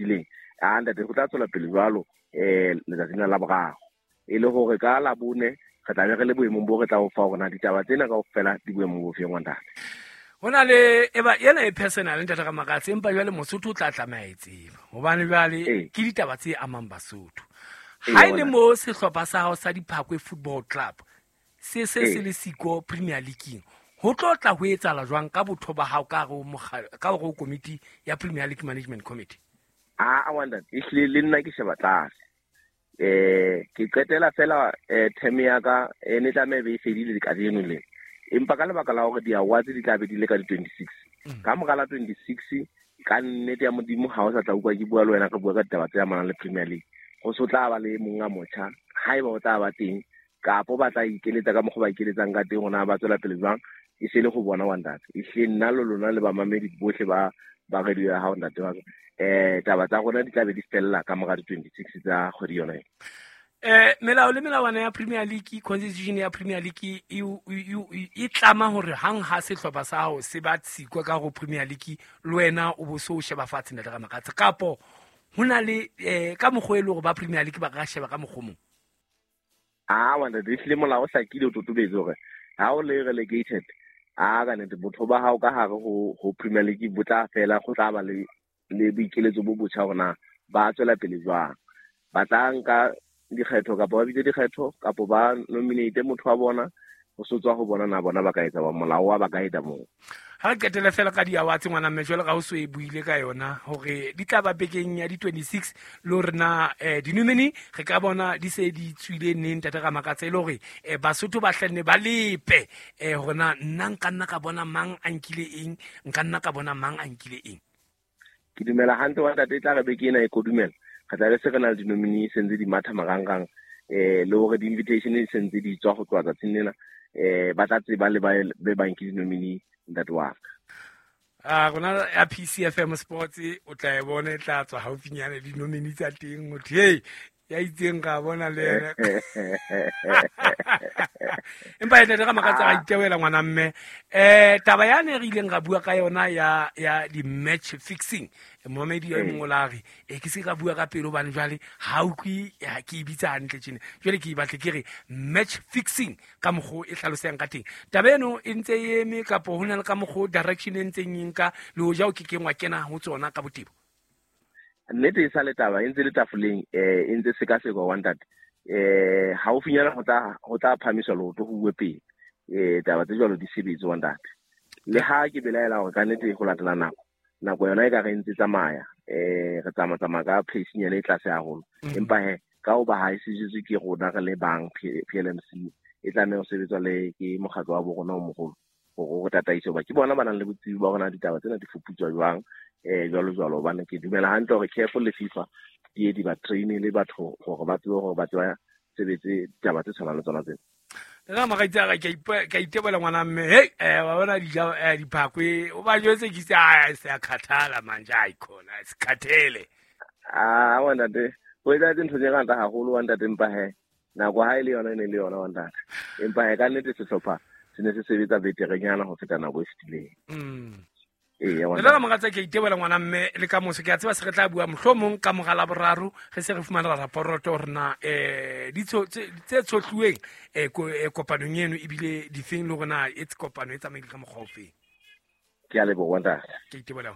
fetileng. A ntate, go tla tswela pele jwalo letsatsing la boraro, e le hore ka Labone re tla be re le boemong bo re tla o fa hore na ditaba tsena kaofela di boemong bo feng, wa ntate. Ho na le eba ena e personal, ntate Ramakatsa, empa jwale Mosotho o tla tlameha e tseba, hobane jwale ke ditaba tse amang Basotho. Ha e le mo sehlopha sa hao sa Diphakwe Football Club se se se le siko Premier League, ho tlo tla ho etsahala jwang ka botho ba hao ka hare ho komiti ya Premier League Management Committee? A wa ntate, ehlile le nna ke sheba tlase. Ke qetela fela term ya ka e ne tlameha e be e fedile kajeno le, empa ka lebaka la hore di-awards di tla be di le ka di-26, ka mora la 26, ka nnete ya Modimo, ha o sa tla utlwa ke bua le wena re bua ka ditaba tse amanang le Premier League. Go se tla ba le monga motjha, haeba o tla ba teng, kapo ba tla ikeletsa ka mokgwa ba ikeletsang ka teng, hore na ba tswela pele jwang, e se le go bona, wa ntate. Ehlile nna le lona le bamamedi bohle ba radio ya hao, ntate wa ka, taba tsa rona di tla be di fella ka mora di-26 tsa kgwedi yona ena. Melao le melawana ya Premier League, constitution ya Premier League e tlama hore hang ha sehlopha sa hao se ba tsikwa ka ho Premier League, le wena o bo so o sheba fatshe, ntate Ramakatsa, kapo ho na le ka mokgwa e le hore ba Premier League ba ka sheba ka mokgwa o mong? A wa ntate, ehlile molao o hlakile, o totobetse hore ha o le relegated, a ka nnete botho ba hao ka hare ho Premier League bo tla fela. Go tla ba le boikeletso bo botjha hore na ba tswela pele jwang, ba tla nka dikgetho kapa ba bitse dikgetho kapa ba nominate motho wa bona. Ho so tswa ho bona na bona ba ka etsa ba molao wa ba ka etsa moo. Ha re qetele fela ka di-awards, ngwana mme, jwale ga o so e buile ka yona hore di tla ba bekeng ya di-26, le hore na di-nominee re ka bona di se di tswile neng, ntate Ramakatsa, e le hore Basotho ba hlenne ba lepe hore na nna nka nna ka bona mang a nkile eng, nka nna ka bona mang a nkile eng. Ke dumela hantle, wa ntate, e tla re beke ena e kodumela, re tla be se re na le di-nominee se ntse di matha marangrang, le hore di-invitation di se ntse di tswa go tloha tsatsing lena, ba tla tseba le ba be bang ke di-nominee, ntate wa ka. A rona ya PCFM Sports o tla e bona e tla tswa haufinyane, di-nominee tsa teng, motho hey ya itseng ka bona le ena. Empa e ntate Ramakatsa, ga itewela, ngwana mme, taba yane re ileng ra bua ka yona ya di-match fixing, momamedi e mongwe o la re e ke se ka bua ka pele, hobane jwale ha utlwe ke e bitsa hantle tjena. Jwale ke e batle ke re match fixing ka mokgwa e hlalosang ka teng. Taba eno e ntse e eme kapo ho na le ka mokgwa direction e ntseng e nka, le hoja o ke keng wa kena ho tsona ka botebo? Nnete e sa le taba e ntse le tafoleng, e ntse sekasekwa, wa ntate. Haufinyana ho tla phahamiswa leoto, ho uwe pele, taba tse jwalo di sebetse, wa ntate. Le ha ke belaela hore ka nnete ho latela nako yona e ka re ntse tsamaya, re tsamaya tsamaya ka pace-nyana e tlase haholo, empa he ka hoba ha e sejetswe ke rona re le bang PLMC, e tlameha ho sebetswa le ke mokgatlo wa bo rona o moholo hore o tataise, hoba ke bona ba nang le botsebi ba rona ditaba tsena di fuputswa jwang, jwalo jwalo. Hobane ke dumela hantle hore CAF le FIFA di ye di ba train le batho hore ba tsebe hore ba tseba sebetse ditaba tse tshwanang le tsona tsena. Nna mogaitsi ka ka itebola, ngwana mme. Hey, wa bona dija Diphakwe o ba jwetse ke se a se a khathala manje, ai khona sikhathele. Ah, wa ntate, ho etsahetse ntho tse ngata haholo, wa ntate, empa he nako ha e le yona e ne le yona, wa ntate. Empa he ka nnete sehlopha se ne se sebetsa beterenyana ho feta nako e fetileng. Ee, wa le ka mogatsa, ke itebola, ngwana mme, le ka moso ke a tseba se re tla bua mohlomong ka mora la boraro, re se re fumana raporoto hore na tse tshohluweng kopanong eno ebile difeng, le hore na e kopano e tsamaile ka mokgwa ofeng. Ke a leboha, ntate. Ke itebola.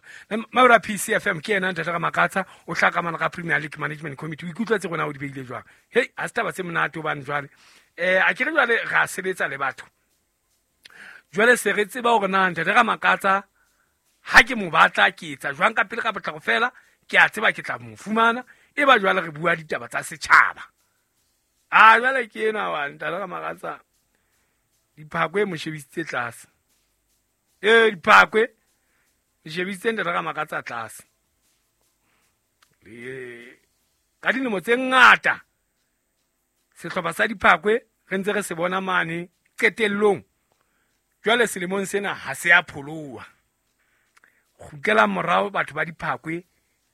Maura PCFM ke ena ntate Ramakatsa, o hlakamana ka Premier League Management Committee. O ikutlwetse rona o di beile jwang? Hei, ha se taba tse monate, hobane jwale a ke re jwale ra sebetsa le batho, jwale se re tseba hore na ntate Ramakatsa ha ke mo batla ke etsa jwang ka pele ka potlako fela, ke a tseba ke tla mo fumana. E ba jwale re bua ditaba tsa setjhaba. A jwale ke ena wa ntate Ramakatsa, Diphakwe mo shebisitse tlase, ee, Diphakwe le shebisitse ntate Ramakatsa tlase. Ka dilemo tse ngata sehlopha sa Diphakwe re ntse re se bona mane qetellong, jwale selemong sena ha se a pholoha. Kgutlelang morao, batho ba Diphakwe,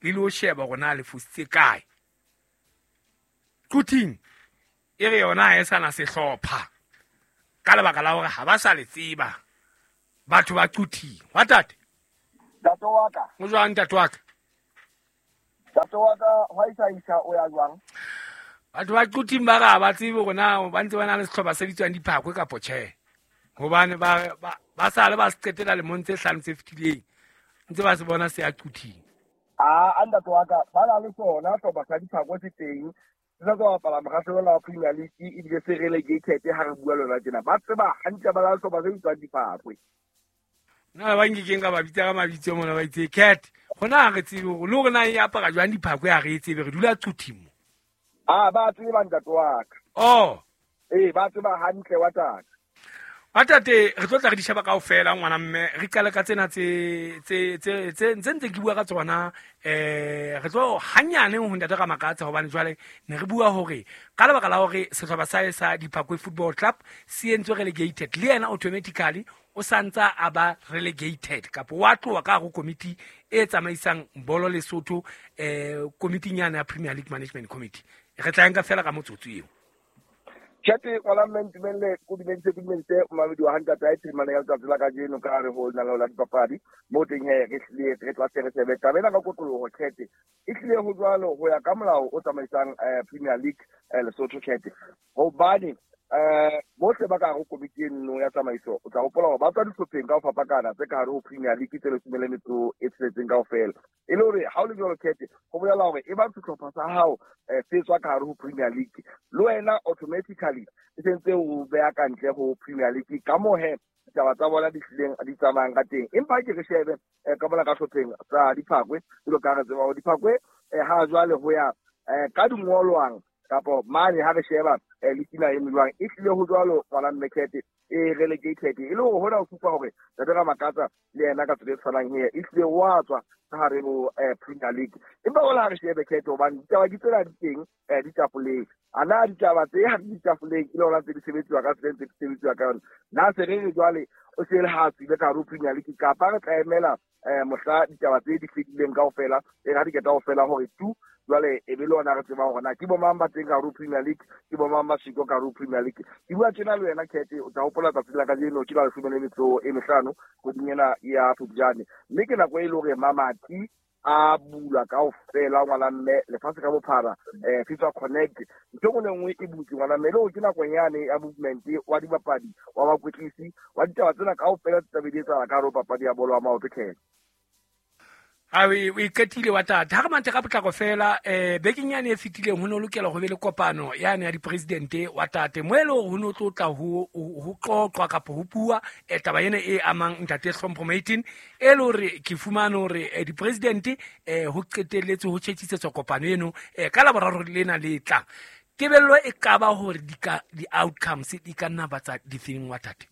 le lo sheba hore na le fositse kae. Quthing e re yona ha e sana sehlopha ka lebaka la hore ha ba sa le tseba batho ba Quthing. Wa tate. Ntate wa ka. O jwang, ntate wa ka? Ntate wa ka hwa isa o ya jwang? Batho ba Quthing ba ra ba tsebe hore na ba ntse ba na le sehlopha se bitswang Diphakwe kapa tjhe. Hobane ba sale ba se qetela lemong tse 5 tse fetileng. Ntse ba se bona se ya Quthing. A ntate wa ka ba na le sona sehlopha sa Diphakwe se teng. Se sa tswa bapala mokgahlelo wa Premier League ebile se relegated ha re bua lona tjena. Ba tseba hantle ba na le sehlopha se bitswang Diphakwe. Nna ba nkekeng ka ba bitsa ka mabitso mona ba itse cat. Hona ha re tsebe hore le hore na e apara jwang Diphakwe ha re e tsebe, re dula Quthing mo. A ba tseba ntate wa ka. Oh. Ee, ba tseba hantle wa tate. Wa tate, re tlo tla re di sheba kaofela ngwana mme, re qale ka tsena tse tse tse tse ntse ntse ke bua ka tsona, re tlo hanyane ho ntate Ramakatsa hobane jwale ne re bua hore ka lebaka la hore sehlopha sa sa Diphakwe Football Club se entswe relegated, le yena automatically o santsa a ba relegated kapa wa tloha ka hare ho komiti e tsamaisang bolo Lesotho, komiting yana ya Premier League Management Committee. Re tla nka fela ka motsotso eo. Tjhete ngwana mme ntumelle ko dumedise momamedi wa hantate a phirimana ya letsatsi la kajeno ka hare ho lenaneo la dipapadi mo teng he re hlile re tla se re shebe taba ena ka kotloloho. Tjhete e hlile ho jwalo ho ya ka molao o tsamaisang Premier League Lesotho. Tjhete hobane bohle ba ka hare ho komiti eno ya tsamaiso o tla hopola hore ba tswa dihlopheng ka ho fapakana tse ka hare ho Premier League tse 16 kaofela. E le hore ha o le jwalo Tjhete ho bolela hore e ba sehlopha sa hao se tswa ka hare ho Premier League le wena automatically e sentse o beha ka ntle ho Premier League ka moo he ditaba tsa bona di hlileng di tsamayang ka teng. Empa ke re shebe ka mona ka hlopheng sa Diphakwe jwalo ka re tseba hore Diphakwe ha jwale ho ya ka dingolwang kapo mane ha re sheba le tina e jwang e hlile ho jwalo ngwana mme Tjhete e relegated e le hore hona ho supa hore Ntate Ramakatsa le yena ka tsela e tshwanang here e hlile wa tswa ka hare ho Premier League. Empa hona ha re shebe Tjhete hobane ditaba ke tsena di teng di tafoleng. A na ditaba tse ha di tafoleng ke le hona tse di sebetsiwa ka tsela tse di sebetsiwa ka yona. Na se re re jwale o se le ha tswile ka hare ho Premier League kapa re tla emela mohla ditaba tse di fedileng kaofela e ra di keta kaofela hore tu jwale e be le ona re tseba hore na ke bo mang ba teng ka hare ho Premier League, ke bo mang ba siko ka hare ho Premier League. Ke bua tjena le wena Tjhete o tla hopola tsatsi la kajeno ke la 15 kgweding ena ya Phupjane, mme ke nako e le hore mamati a bulwa kaofela ngwana mme lefatshe ka bophara FIFA Connect ntho e nngwe le nngwe e butse ngwana mme, le hore ke nako yane ya movement wa dibapadi wa bakwetlisi wa ditaba tsena kaofela tse tlabe di etsahala ka hare ho papadi ya bolo ya maoto. Tjhete a o iqetile wa tata. Ha re manthe ka potlako fela, bekeng yane e fetileng ho no lokela ho be le kopano yane ya dipresidente wa tate mo e le hore ho no tlo tla ho qoqwa kapa ho bua taba ena e amang ntate Hlompho Maitin, e le hore ke fumane hore dipresidente ho qetelletse ho tjhetjhisetswa kopano eno ka Laboraro lena le tlang. Tebello e ka ba hore di-outcomes di ka nna ba tsa difeng wa tate?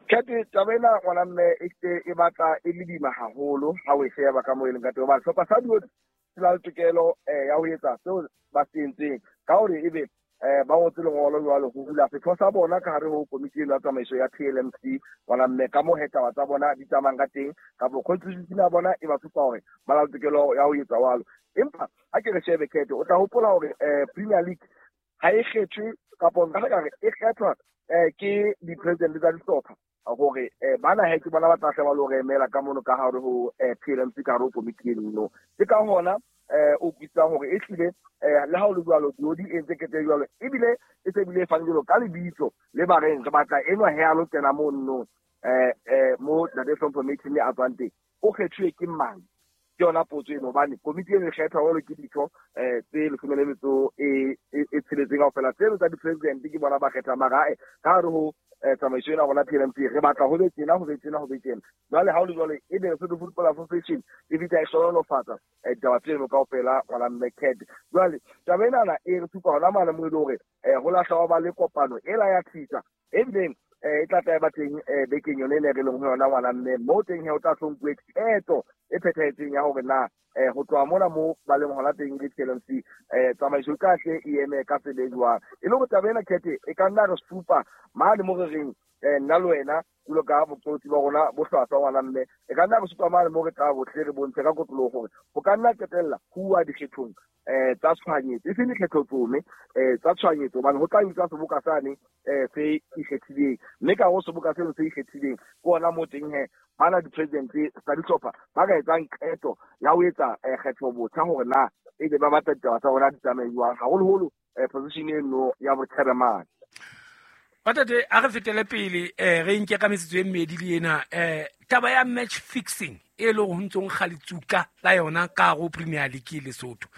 Tjhete taba ena ngwana mme e hle e batla e le boima haholo ha o e sheba ka moo e leng ka teng, hobane sehlopha sa Diodi se na le tokelo ya ho etsa seo ba se entseng ka hore ebe ba ngotse lengolo jwalo ho hula setho sa bona ka hare ho komiti eno ya tsamaiso ya PLMC ngwana mme ka moo he taba tsa bona di tsamayang ka teng kapo constitution ya bona e ba supa hore ba na le tokelo ya ho etsa jwalo. Empa ha ke re shebe Tjhete o tla hopola hore Premier League ha e kgethwe kapo nka re e kgethwa ke di-president tsa dihlopha hore bana he ke bona ba tla hle ba lo re emela ka mono ka hare ho PLMC ka hare ho komiti eno. Ke ka hona o utlwisisang hore e hlile le ha o le jwalo Diodi e ntse kete jwalo ebile e se bile e fane jwalo ka lebitso le ba reng re batla enwa he a lo kena mono mo Ntate Hlompho Maitin a tswang teng o kgethuwe ke mang? Ke yona potso eno hobane komiti eno e kgethwa jwalo ke ditho tse 16 kaofela tseno tsa di-president ke bona ba kgethang mara ka hare ho tsamaiso ena rona PLMC re batla ho be tjena ho be tjena ho be tjena. Jwale ha o le jwalo e be Lesotho Football Association e fihla e hlohonolofatsa ditaba tseno kaofela ngwana mme Cat. Jwale taba enana e re supa hona mane mo e le hore ho lahla wa ba le kopano ela ya thisa ebileng e tla tla ba teng bekeng yone e re leng ho yona ngwana mme mo teng he o tla hlomphuwe qeto e phethahetseng ya hore na ho tloha mona mo ba leng hona teng le PLMC tsamaiso e ka hle e eme ka tsela e jwang. E le hore taba ena Tjhete e ka nna re supa mane mo re reng nna le wena jwalo ka boqolotsi ba rona bo hlwahlwa ngwana mme e ka nna re supa mane mo re tla bohle re bontshe ka kotloloho hore ho ka nna qetella ho uwa dikgethong tsa tshohanyetso e seng dikgetho tsome tsa tshohanyetso hobane ho tla bitswa seboka sane se ikgethileng mme ka ho seboka seno se ikgethileng ke ona mo teng he bana di-president tsa dihlopha ba ka etsang qeto ya ho etsa etsa kgetho botjha hore na ebe ba batla ditaba tsa rona di tsamaye jwang, haholoholo position eno ya bochairman. Batate a re fetele pele re nke ka metsotso e mmedi le ena taba ya match fixing e leng ho ntsong kgalitsuka la yona ka go Premier League Lesotho.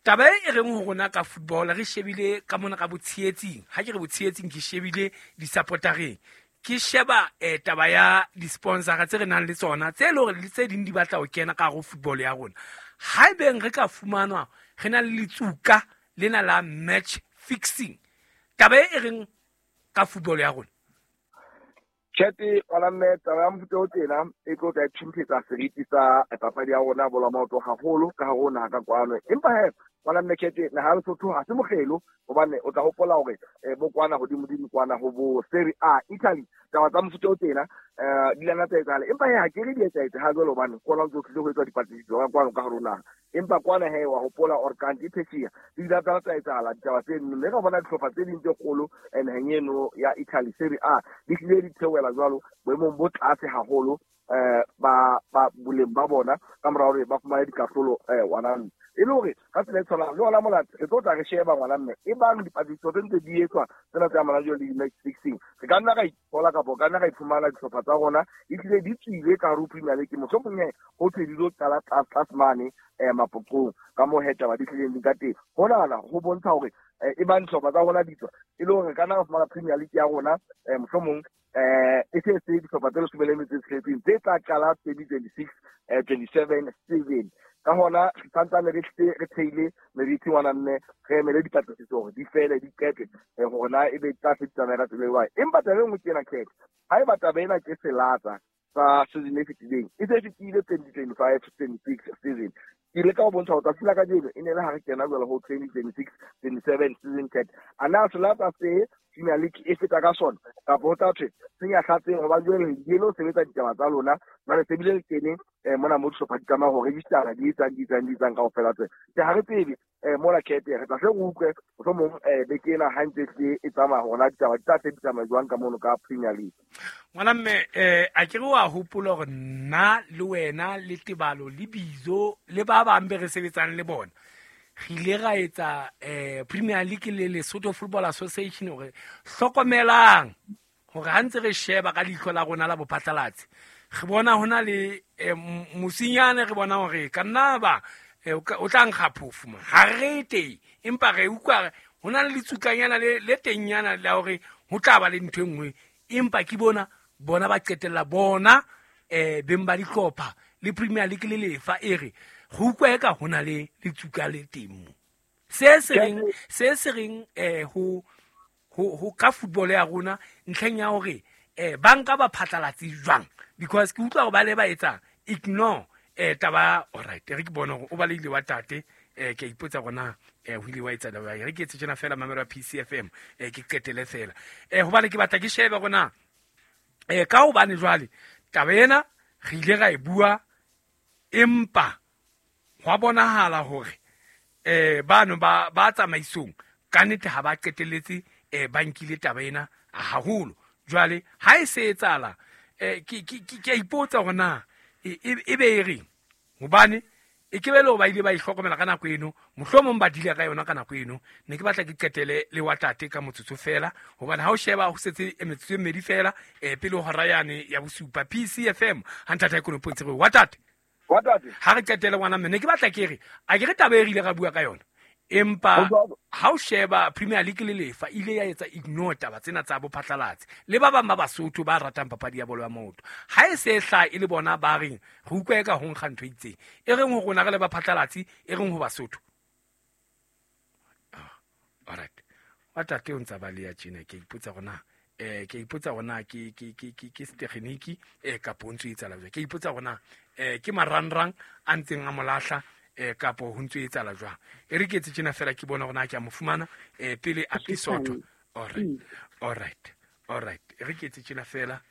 Taba e reng ho rona ka football re shebile ka mona ka botsheetsing, ha ke re botsheetsing ke shebile di-supportereng, ke sheba taba ya di-sponsora tse re nang le tsona tse leng hore le tse ding di batla ho kena ka go football ya rona. Haebeng re ka fumanwa re na le letsuka lena la match fixing, taba e reng ka football ya rona? Tjhete wala mme taba ya mofuta o tjena e tlo tla thumphetsa seriti sa papadi ya rona bolo ya maoto haholo ka hare ho naha ka kwano. Empa he wala mme Tjhete naha ya Lesotho ha se mokgelo, hobane o tla hopola hore bo kwana hodimodimo kwana ho bo Serie A Italy taba tsa mofuta o tjena di lana tsa etsahala. Empa he ha ke re di etsahetse ha jwale, hobane kona ntse ho tlile ho etswa dipatlisiso ka kwano ka hare ho naha. Empa kwana he wa hopola or kanti phesheya di ile tsa etsahala ditaba tse nne, mme ka bona dihlopha tse ding tse kgolo naheng eno ya Italy Serie A di hlile di theohela jwalo boemong bo tlase haholo ba boleng ba bona ka mora hore ba fumane dikahlolo ngwana mme. E le hore ka tsela e tshwanang le hona mona re tlo tla re sheba ngwana mme e bang dipatlisiso tse ntse di etswa tsena tse amanang jwalo le di-match fixing, re ka nna ra ithola kapa ka nna ra iphumana dihlopha tsa rona ehlile di tswile ka hare ho Premier League, mohlomong he ho thwe di lo qala tlase tlase mane mapoqong ka moo he taba di hlileng di ka teng. Honana ho bontsha hore e bang dihlopha tsa rona di tswa, e le hore re ka nna ra fumana Premier League ya rona mohlomong e se se dihlopha tse 16 tse tla qala 2026 27 season. Ka hona re santsane re re theile meriti ngwana mme re emele dipatlisiso hore di fele di qetwe hore na ebe tla se di tsamaya ka tsela e jwang. Empa taba e nngwe ke ena Khetho, haeba taba ena ke selatsa sa season e fetileng, e se fetile 2025 26 season, ke ile ka ho bontsha hore tsatsi la kajeno e ne le ha re kena jwale ho 2026 27 season Khetho. A na selatsa se Premier League e feta ka sona kapa ho tla thwe se nyahlatseng, hobane jwale le lo sebetsa ditaba tsa lona jwale se bile le kene mona mo dihlopha di tlameha ho register-a di etsang di etsang di etsang kaofela tsena. Tje ha re tsebe mola Khethe re tla hle re utlwe mohlomong beke ena ha ntse e tsamaya hore na ditaba di tla hle di tsamaya jwang ka mono ka Premier League. Ngwana mme a ke re wa hopola hore nna le wena le Tebalo le Bizo le ba bang be re sebetsang le bona re ile ra etsa Premier League le Lesotho Football Association hore hlokomelang hore ha ntse re sheba ka leihlo la rona la bophatlalatsi re bona hona le mosinyane, re bona hore ka nna ba o tla nkga phofu ma ha re teng, empa re utlwa hona le letsukanyana le tengnyana la hore ho tla ba le ntho e nngwe, empa ke bona ba qetella bona beng ba dihlopha le Premier League le lefa e re go utlwa eka hona le letsuka le teng mo. Se se reng ho ka football ya rona ntlheng ya hore banka ba phatlalatse jwang, because ke utlwa hore ba le ba etsa ignore taba. Alright, re ke bona hore o baleile wa tate ke a ipotsa hore na ho ile wa etsa jwang. Re ke etse tjena fela mamelo ya PCFM ke qetele fela hobane ke batla ke shebe hore na ka hobane jwale taba ena re ile ra e bua, empa hwa bonahala hore bano ba tsamaisong ka nnete ha ba qetelletse ba nkile taba ena haholo. Jwale ha e se etsahala ke a ipotsa hore na e be e reng, hobane e ke be le hore ba ile ba ihlokomela ka nako eno, mohlomong ba dile ka yona ka nako eno. Ne ke batla ke qetele le wa tate ka motsotso fela, hobane ha o sheba ho setse metsotso e mmedi fela pele ho hora yane ya bosupa. PCFM ha ntate e konopo ntse re wa tate ha re qetele ngwana mme ne ke batla ke re a ke re taba e re ile ra bua ka yona, empa ha o sheba Premier League le lefa ile ya etsa ignore taba tsena tsa bophatlalatsi le ba bang ba Basotho ba ratang papadi ya bolo ya maoto. Ha e se hla e le bona ba reng re utlwa eka ho nkga ntho e itseng, e reng ho rona re le baphatlalatsi, e reng ho Basotho. Alright, wa tate o ntsa ba le ya tjena, ke ipotsa hore na ke ipotsa hore na ke setekgeniki kapo o ntso etsahala jwang. Ke ipotsa hore na ke marangrang a ntseng a molahla kapo ho ntso etsahala jwang. E re ke etse tjena fela ke bona hore na ke a mo fumana pele a episode. Alright. E re ke etse tjena fela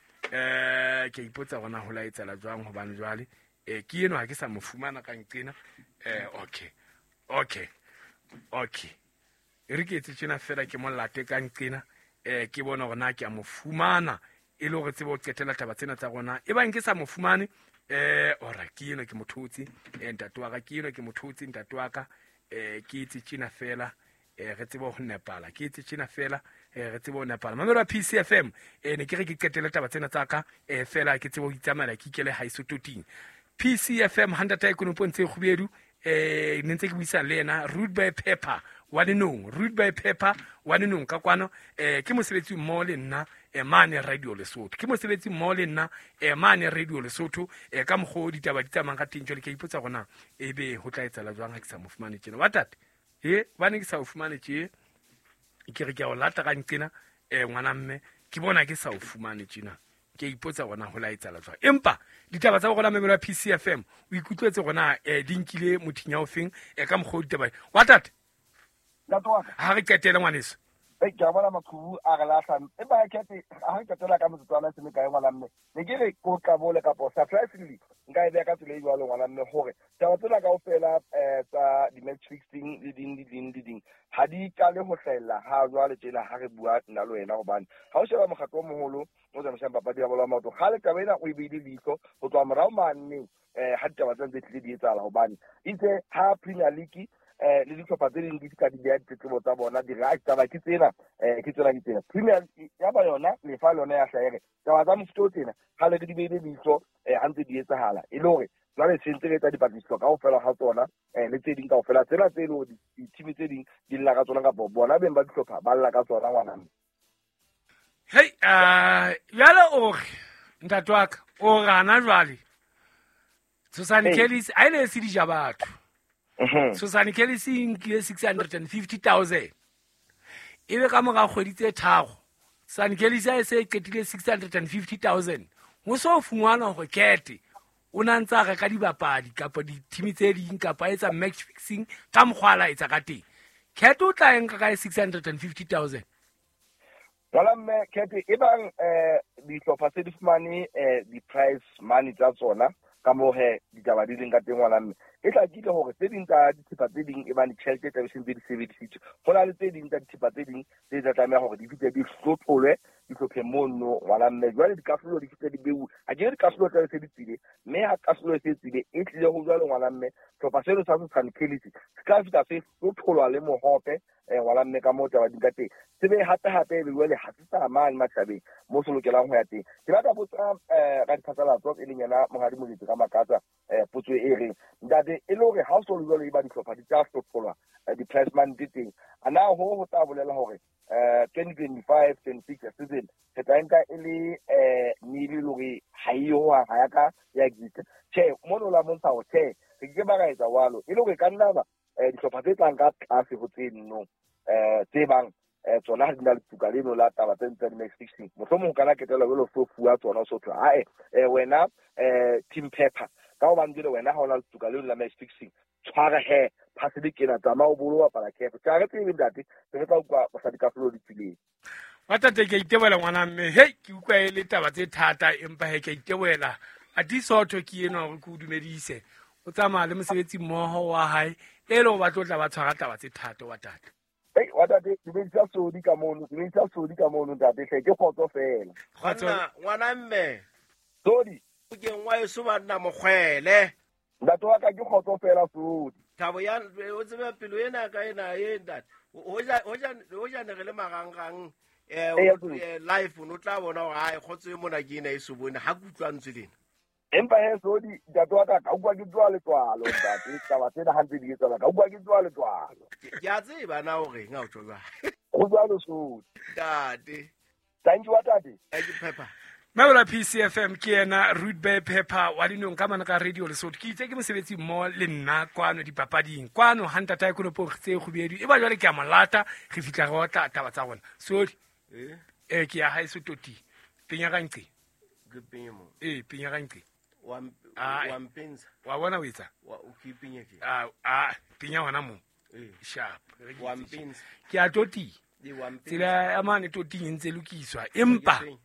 ke ipotsa hore na ho la etsahala jwang, hobane jwale ke eno ha ke sa mo fumana ka nqena. Okay. E re ke etse tjena fela ke mo late ka nqena ke bona hore na ke a mo fumana e le hore tsebe ho qetela taba tsena tsa rona. E bang ke sa mo fumane Ora ke eno ke mothotse ntate wa ka, ke eno ke mothotse ntate wa ka. Ke etse tjena fela, re tsebe ho nepala. Ke etse tjena fela, re tsebe ho nepala. Mamelo wa PCFM, ne ke re ke qetele taba tsena tsa ka, fela ke tsebe ho itsamaela ke ikele haeso toting. PCFM ha ntata Konopo ntse kgubedu, ne ntse ke buisana le yena Rude Boy Pepper wa Lenong, Rude Boy Pepper wa Lenong ka kwano. Ke mosebetsi mmoho le nna mane Radio Lesotho, ke mosebetsi mmoho le nna mane Radio Lesotho. Ka mokgwa o ditaba di tsamayang ka teng jwale, ke a ipotsa hore na ebe ho tla etsahala jwang ha ke sa mo fumane tjena. Wa tate, hobane ke sa o fumane tje, ke re ke a o lata ka nqena, ngwana mme, ke bona ke sa o fumane tjena. Ke a ipotsa hore na ho la etsahala jwang. Empa ditaba tsa rona memelo ya PCFM, o ikutlwetse hore na di nkile mothinya o feng, ka mokgwa o ditaba. Wa tate? Ntate wa ka. Ha re qetele ngwaneso. Ei, ke a bona maqhubu a re lahlang. Empa ha ke ha re qetela ka metsotswana e se mekae ngwana mme, ne ke re ko qabole kapo surprisingly nka e beha ka tsela e jwalo ngwana mme, hore taba tsena kaofela tsa di-match fixing le ding le ding le ding ha di qale ho hlahella ha jwale tjena ha re bua nna le wena, hobane ha o sheba mokgatlo o moholo o tsamaisang papadi ya bolo ya maoto, kgale taba ena o e beile leihlo ho tloha morao maneng, ha ditaba tsena tse tlile di etsahala, hobane itse ha Premier League le dihlopha tse ding di fihla di beha ditletlebo tsa bona, di re, "Ai, taba ke tsena, ke tsena, ke tsena." Premier ya ba yona lefa le yona ya hlaha e re taba tsa mofuta o tsena kgale re di beile leihlo, ha ntse di etsahala, e le hore jwale se ntse re etsa dipatlisiso kaofela ha tsona, le tse ding kaofela tsena tse leng hore di-team tse ding di lla ka tsona kapa bona beng ba dihlopha ba lla ka tsona ngwana mme. Hei, jwale o re ntate wa ka, o re hana jwale Tshosane Kelly a ene e se dija batho. Tshosane Kelly se nkile 650,000. Ebe ka mora kgwedi tse tharo, Tshosane Kelly se a se qetile 650,000. Ho so fungwana hore Kete o na ntse a reka dibapadi kapa di-team tse ding kapa a etsa match fixing ka mokgwa a la etsa ka teng. Kete o tla e nka kae 650,000? Jwale mme Kete, e bang dihlopha tse di fumane di-prize money tsa tsona ka moo he ditaba di leng ka teng ngwana mme, e hlakile hore tse ding tsa dithepa tse ding e bang ditjhelete tla be se ntse di sebedisitswe. Ho na le tse ding tsa dithepa tse ding tse tla tlameha hore di fihle di hlotholwe dihlopheng mono ngwana mme. Jwale dikahlolo di fihle di beuwe. Ha ke re dikahlolo tla be se di tswile, mme ha kahlolo e se tswile, e tlile ho jwalo ngwana mme, sehlopha seno sa Tshosane Kelly se tla fihla se hlotholwa le mohope, ngwana mme ka moo taba di ka teng. Se be hape hape e be jwale ha se sa mane matjhabeng moo se lokelang ho ya teng. Ke batla botsa radiphatlalatso e leng yena Monghadi Molefi Ramakatsa, potso e reng, ntate, e le hore ha o so le jwalo e ba dihlopha di tla hlotholwa, di-prize money tse teng, a na ho ho tla bolela hore 2025-26 season re tla nka e le nile le hore ha e yo hohang, ha ya ka ya exist? Tjhe, mono la montsha hore tjhe, re ke ke ba ra etsa jwalo. E le hore ka nna ba dihlopha tse tlang ka tlase ho tse nno, tse bang tsona ha di na letuka leno la taba tse tsa di-match fixing, mohlomong o kana ketela jwalo so fuwa tsona, o so thwe, ae, wena, Team Pepper, ka hobane jwale wena ha o na letuka leno la match fixing, tshwara he phasele kena, tsamaya o bolo bapala kepe. Tjhe, ha re tsebe ntate, se re tla utlwa mosadi kahlolo di tswileng. Wa tate, ke a itebohela ngwana mme. Hei, ke utlwa e le taba tse thata, empa he ke a itebohela. Ati Sotho ke enwa hore ke o dumedise. O tsamaya le mosebetsi mmoho wa hae, e le hore ba tlo tla ba tshwara taba tse thata wa tate. Hei, wa tate, dumedisa Sodi ka mono, dumedisa Sodi ka mono ntate, hle, ke kgotso fela. Kgotso. Ngwana, ngwana mme. Sodi. O ke ngwa eso banna mokgwele. Ntate wa ka ke kgotso fela Sodi. Thabo ya, o tsebe pelo ena ka ena e ntate. Hoja, hoja, hoja ne re le marangrang, Eya, Sodi. live, o no tla bona hore, hai, kgotso e mona ke ena e so bone, ha ke utlwa ntswe lena. Empa he Sodi, ntate wa ka, ka utlwa ke tswa letswalo, ntate, taba tsena ha ntse di etsahala, ka utlwa ke tswa letswalo. Ke a tseba na o reng ha o tjho jwalo. Ho jwalo Sodi. Ntate. Thank you, ntate. Thank you, Pepper. Mabola PCFM ke yena Rude Boy Pepper wa Dinong ka mane ka Radio Lesotho. Ke itse ke mosebetsi mmoho le nna kwano dipapading. Kwano ha ntatae Konopo tse kgubedu. E ba jwale ke a mo lata, re fihla re otla taba tsa rona. Sodi. Ke ya haeso toti. Penya ka nqe. Ke penye mo. Penya ka nqe. Wa wa mpentsha. Wa bona o etsa? Wa, o ke penye ke. Penya hona moo. Sharp. Re ke Wa itse. mpentsha. Ke a toti. Wa mpentsha. Tsela ya mane toting e ntse lokiswa. Empa Ke penye.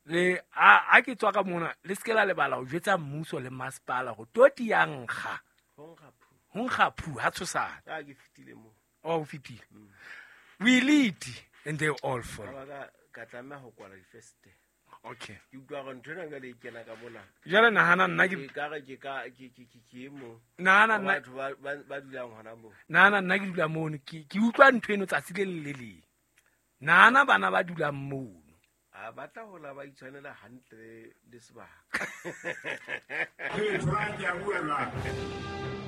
le a ke tswa ka mona, le se ke la lebala ho jwetsa mmuso le masepala hore toti ya nkga. Ho nkga phu. Ho nkga phu, ha tshosana. A ke fetile moo. Oh, o fetile. We lead and they all follow. Ka ba ka tlameha ho kwala difestere. Okay. Ke utlwa gore ntho ena jale e kena ka mona. Jwale nahana nna ke Ke ka re ke ka ke ke ke ke e mong nahana wa nna batho ba dulang hona moo. Nahana nna ke dula mono, ke utlwa ntho eno tsatsi le leng le leng. Nahana bana ba dulang mono. A ba tla hola ba itshwanela hantle le sebaka. Ee, Thorang, ke a bua jwale.